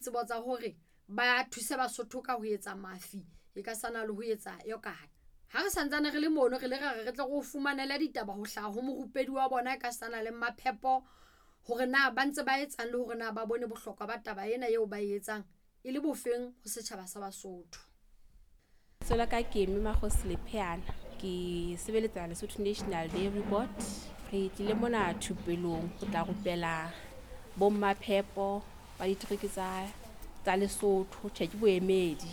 Tsebo tsa hore ba thuse Basotho ka ho etsa mafi e ka sana le ho etsa yokate. Ha re santsane re le mono re le ra re re tle re o fumanele ditaba ho hlaha ho morupedi wa bona ka sana le Maphepo hore na ba ntse ba etsang le hore na ba bone bohlokwa ba taba ena eo ba e etsang e le bofeng ho setjhaba sa Basotho. Lebitso la ka ke Mme Makgosi Lepheana. Ke sebeletsa Lesotho National Dairy Board. Re tlile mona thupelong ho tla rupela bomma-phepo ba ditereke tsa Lesotho. Tjhe, ke boemedi.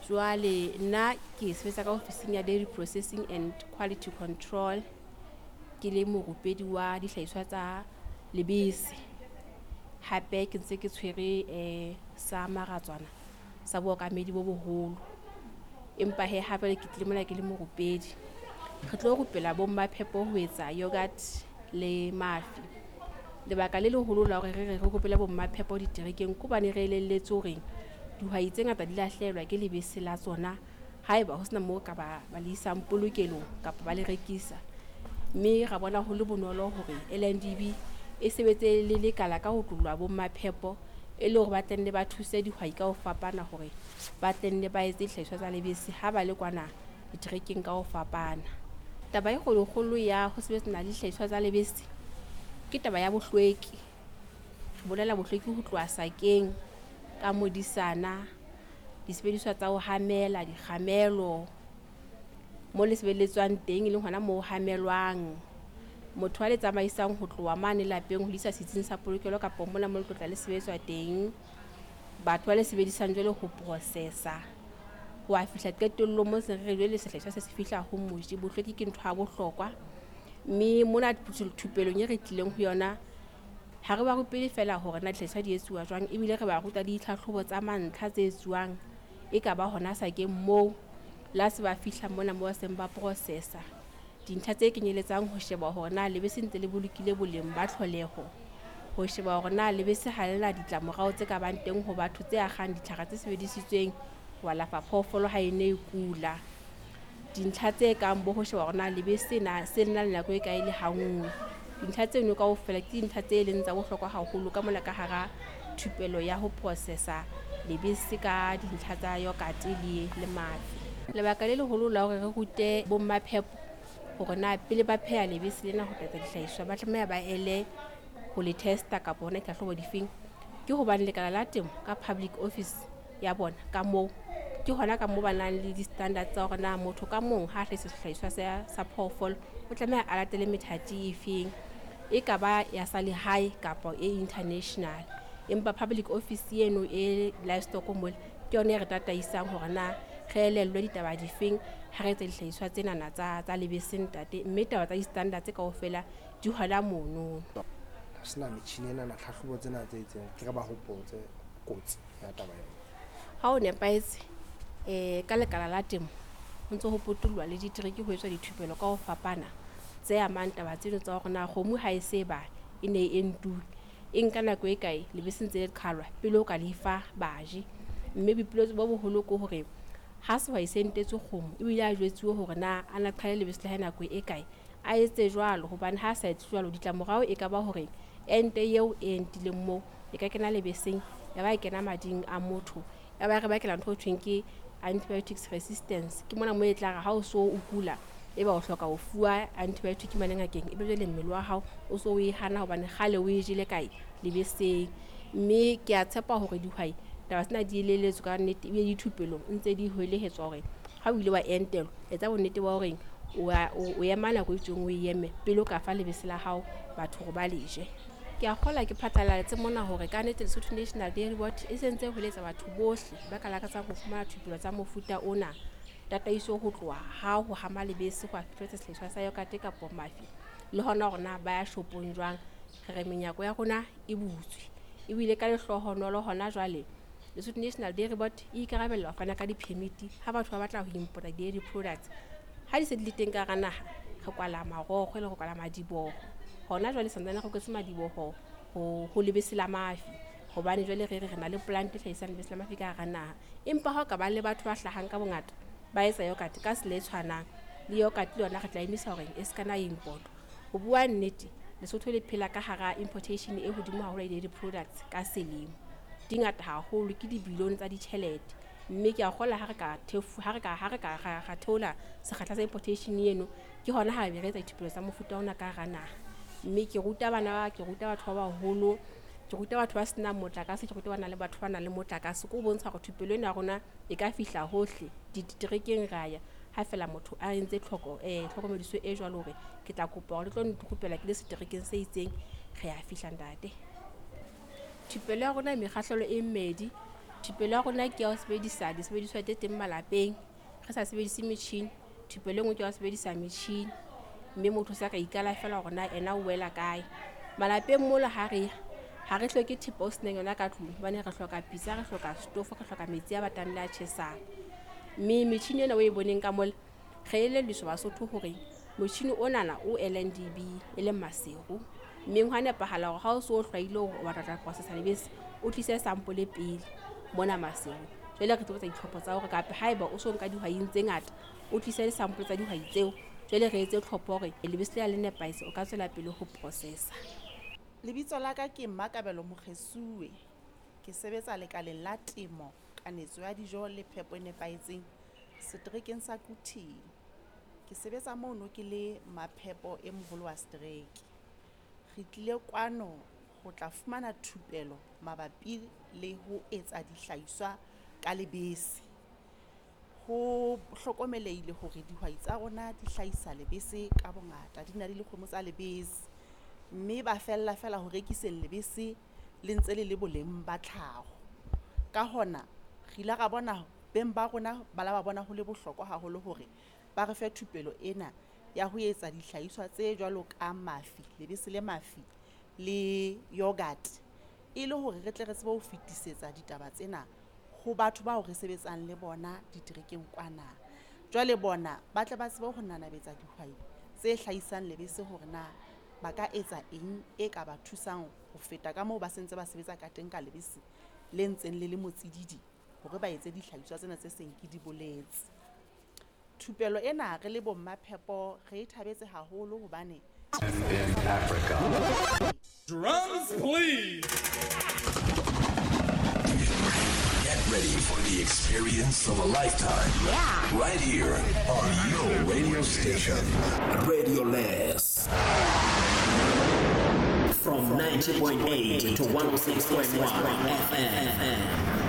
Jwale nna ke sebetsa ka ofising ya Dairy Processing and Quality Control. Ke le morupedi wa dihlahiswa tsa lebese. Hape ke ntse ke tshwere sa maratswana sa bookamedi bo boholo. Empa he ha jwale ke tlile mona ke le morupedi. Re tlo rupela bomma-phepo ho etsa yogurt le mafi. Lebaka le leholo la hore re re re rupele bomma-phepo diterekeng ke hobane re elelletswe hore dihwai tse ngata di lahlehelwa ke lebese la tsona haeba ho sena moo ka ba le isang polokelong kapa ba le rekisa. Mme ra bona ho le bonolo hore LNDB e sebetse le lekala ka ho tlollwa bomma-phepo e le hore ba tlenne ba thuse dihwai ka ho fapana hore ba tlenne ba etse dihlahiswa tsa lebese ha ba le kwana diterekeng ka ho fapana. Taba e kgolokgolo ya ho sebetsana le dihlahiswa tsa lebese ke taba ya bohlweki. Re bolela bohlweki ho tloha sakeng ka modisana, disebediswa tsa ho hamela, dikgamelo, mo le sebeletswang teng e leng hona moo ho hamelwang. Motho a le tsamaisang ho tloha mane lapeng ho le isa setsing sa polokelo kapa mona mo le tlotla le sebetswa teng. Batho ba le sebedisang jwale ho processa ho a fihla qetellong mo se re jwale sehlahiswa se se fihla ho moji. Bohlweki ke ntho ya bohlokwa. Mme mona thupelong e re tlileng ho yona ha re ba rupele feela hore na dihlahiswa di etsuwa jwang, ebile re ba ruta le ditlhahlobo tsa mantlha tse etsuwang e ka ba hona sakeng moo la se ba fihla mona moo ba seng ba processa. Dintlha tse kenyeletsang ho sheba hore na lebese ntse le bolokile boleng ba tlholeho, ho sheba hore na lebese ha le na ditlamorao tse ka bang teng ho batho tse akgang ditlhare tse sebedisitsweng ho alafa phoofolo ha e ne e kula. Dintlha tse kang bo ho sheba hore na lebese na se le na le nako e kae le ha nngwe. Dintlha tseno kaofela ke dintlha tse leng tsa bohlokwa haholo ka mona ka hara thupelo ya ho processa lebese ka dintlha tsa yogurt le mafi. Lebaka le leholo la hore re rute bomma-phepo hore na pele ba pheha lebese lena ho tla etsa dihlahiswa ba tlameha ba ele ho le testa kapa hona ditlhahlobo difeng, ke hobane lekala la temo ka public office ya bona ka moo ke hona ka moo ba nang le di-standards tsa hore na motho ka mong ha hlahisa sehlahiswa sa phoofolo o tlameha a latele methati efeng, e ka ba ya sa lehae kapa e international. Empa public office eno e livestock mole ke yona e re tataisang hore na re elellwe ditaba difeng ha re etsa dihlahiswa tsenana tsa lebese ntate, mme taba tsa di-standards kaofela di hona mono. Ha sena metjhini ena na tlhahlobo tsena tse itseng, ke re ba hopotse kotsi ya taba ena. Ha o nepahetse ka lekala la temo ho ntse ho potollwa le ditereke ho etswa dithupelo ka ho fapana tse amang taba tseno tsa hore na kgomo ha e se ba e ne e entuwe e nka nako e kae lebese ntse le qhalwa pele o ka le fa baji. Mme boipiletso bo boholo ke hore ha sehwai se entetswe kgomo ebile a jwetsuwe hore na a na qhale lebese la hae nako e kae, a etse jwalo, hobane ha a sa etse jwalo ditlamorao e ka ba hore ente eo e entileng moo e ka kena lebeseng ya ba e kena mading a motho, ya ba re bakela ntho e thweng ke antibiotics resistance. Ke mona moo e tla re ha o so o kula e ba o hloka ho fuwa antibiotic mane ngakeng, ebe jwale mmele wa hao o so o e hana hobane kgale o e jele kae lebeseng. Mme ke a tshepa hore dihwai taba tsena di elelletswe ka nnete ebile dithupelong ntse di hwelehetswa hore ha o ile wa entelwa etsa bonnete ba hore o ema nako e itseng o e eme pele o ka fa lebese la hao batho hore ba le je. Ke a kgolwa ke phatlalatse mona hore ka nnete Lesotho National Dairy Board e sentse ho eletsa batho bohle ba ka lakatsang ho fumana thupelo tsa mofuta ona, tataiso ho tloha ha ho hama lebese ho a fihletsa sehlahiswa sa yogurt kapa mafi, le hona hore na ba ya shopong jwang. Re re menyako ya rona e butswe ebile ka lehlohonolo hona jwale Lesotho National Dairy Board e ikarabella ho fana ka di-permit ha batho ba batla ho importa dairy products. Ha di se di le teng ka hara naha re kwala marokgo le re kwala madiboho. Hona jwale santsane re kwetse madiboho ho lebese la mafi, hobane jwale re re re na le plant e hlahisang lebese la mafi ka hara naha. Empa ha o ka ba le batho ba hlahang ka bongata ba etsa yogurt ka tsela e tshwanang le yogurt le yona re tla emisa hore e se kana import. Ho bua nnete Lesotho le phela ka hara importation e hodimo haholo ya dairy products ka selemo. Di ngata haholo, ke dibilione tsa ditjhelete. Mme ke a kgolwa ha re ka thefu ha re ka ha re ka ra theola sekgahla sa importation eno, ke hona ha be re etsa dithupelo tsa mofuta ona ka hara naha. Mme ke ruta bana, ke ruta batho ba baholo, ke ruta batho ba senang motlakase, ke ruta ba nang le batho ba nang le motlakase. Ke ho bontsha hore thupelo ena ya rona e ka fihla hohle diterekeng ra ya. Ha fela motho a entse tlhoko tlhokomediso e jwalo hore ke tla kopa hore le tlo nrupela ke le seterekeng se itseng, re ya fihla ntate. Thupelo ya rona e mekgahlelo e mmedi. Thupelo ya rona ke ya ho sebedisa disebediswa tse teng malapeng, re sa sebedise metjhini. Thupelo e nngwe ke ya ho sebedisa metjhini, mme motho o sa ka ikala fela hore na ena o wela kae. Malapeng mola ha re ya, ha re hloke thepa o senang yona ka tlung, hobane re hloka pitsa, re hloka setofo, re hloka metsi a batang le a tjhesang. Mme metjhini ena o e boneng ka mola, re elelliswa Basotho hore motjhini onana o LNDB e leng Maseru. Mme hwa nepahala hore ha o so hlwaile hore o batla ho tla processa lebese, o tlise sample pele mona Maseru. Jwale re tlo etsa ditlhopho tsa hore kapa haeba o so nka dihwaing tse ngata, o tlise disample tsa dihwai tseo. Jwale re etse tlhopho hore lebese lena le nepahetse, o ka tswela pele ho processa. Lebitso la ka ke Mmakabelo Mokgesuwe. Ke sebetsa lekaleng la temo, kanetso ya dijo le phepo e nepahetseng seterekeng sa Quthing. Ke sebetsa mono ke le maphepo e moholo wa setereke. Re tlile kwano ho tla fumana thupelo mabapi le ho etsa dihlahiswa ka lebese. Ho hlokomelehile hore dihwai tsa rona di hlahisa lebese ka bongata, di na le dikgomo tsa lebese, mme ba fella fela ho rekiseng lebese le ntse le le boleng ba tlhaho. Ka hona re ile ra bona beng ba rona ba la ba bona ho le bohlokwa haholo hore ba re fe thupelo ena ya ho etsa dihlahiswa tse jwalo ka mafi, lebese le mafi le yogurt, e le hore re tle re tsebe ho fetisetsa ditaba tsena ho batho bao re sebetsang le bona diterekeng kwana. Jwale bona ba tle ba tsebe ho nanabetsa dihwai tse hlahisang lebese hore na ba ka etsa eng e ka ba thusang ho feta ka moo ba sentse ba sebetsa ka teng ka lebese le ntseng le le motsididi, hore ba etse dihlahiswa tsena tse seng ke di boletse. Thupelo ena re le bo mmaphepo re e thabetse haholo hobane in Africa. Drums, please. Get ready for the experience of a lifetime. Yeah. Right here on your radio station. Radio Less. From 90.8 to 106.1 FM.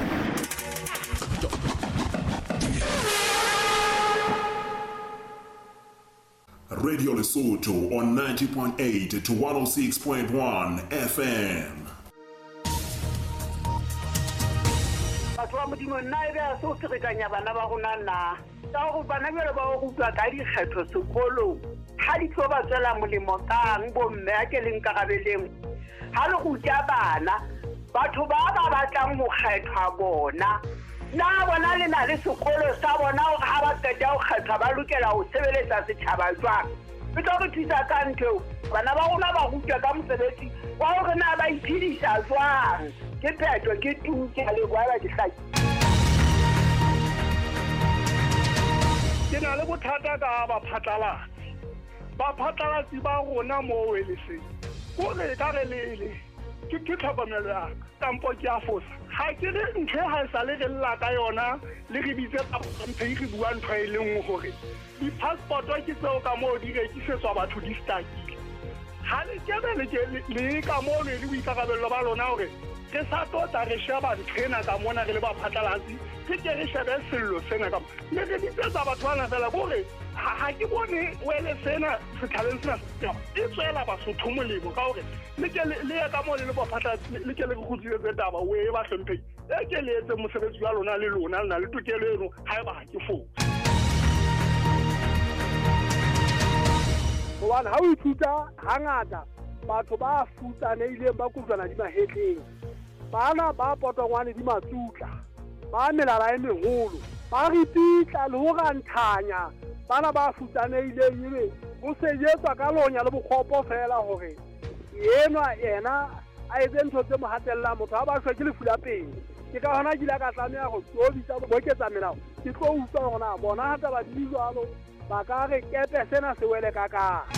Radio Lesotho on 90.8 to 106.1 FM. Batho ba Modimo, nna e be a se o ferekanya bana ba rona na? Ka hore bana jwale ba o rutwa ka dikgetho sekolong, ha di tlo ba tswela molemo kang bomme a ke le nkarabeleng? Ha le ruta bana, batho ba ba batlang ho kgethwa bona, na bona le na le sekolo sa bona hore ha ba qeta ho kgethwa ba lokela ho sebeletsa setjhaba jwang? E tlo re thusa ka ntho eo. Bana ba rona ba rutwa ka mosebetsi wa hore na ba iphedisa jwang. Ke phetho, ke tu, ke a leboha ba ke hlaki. Ke na le bothata ka baphatlalatsi. Baphatlalatsi ba rona moo Weleseng, kore ka re lele ke tlhokomelo ya ka, kampo ke a fosa. Ha ke re ntho e ha e sale re lla ka yona, le re bitse mphe re bua ntho e le nngwe hore di-passport ke tseo ka moo di rekisetswa batho di stakile. Ha le kebe le ka moo le le boikarabello ba lona hore re sa tlo tla re sheba ntho ena ka mona re le baphatlalatsi, re ke re shebe sello sena ka mona. Le re bitsetsa batho bana fela kore ha ke bone wele sena setjhabeng sena e tswela Basotho molemo ka hore le ke le ye ka moo le le baphatlalatsi, le ke le re kgutlisetse taba o e ba hlomphehi. E ke le etse mosebetsi wa lona le lona, le na le tokelo eno haeba ha ke fose. Hobane ha o ithuta hangata batho ba futsanehileng ba kojwana di mahetleng, bana ba potongwane di matsutla, ba melala e meholo, ba ripitla le ho ranthanya bana ba futsanehileng, ebe ho sejetswa ka lonya le bokgopo fela hore enwa yena a etse ntho tse mo hatellang. Motho ha ba shwe ke lefu la pele. Ke ka hona ke ile ka tlameha ho tlo bitsa boketsa melao, ke tlo utlwa hore na bona ha taba di jwalo ba ka re kepe sena se wele ka kae.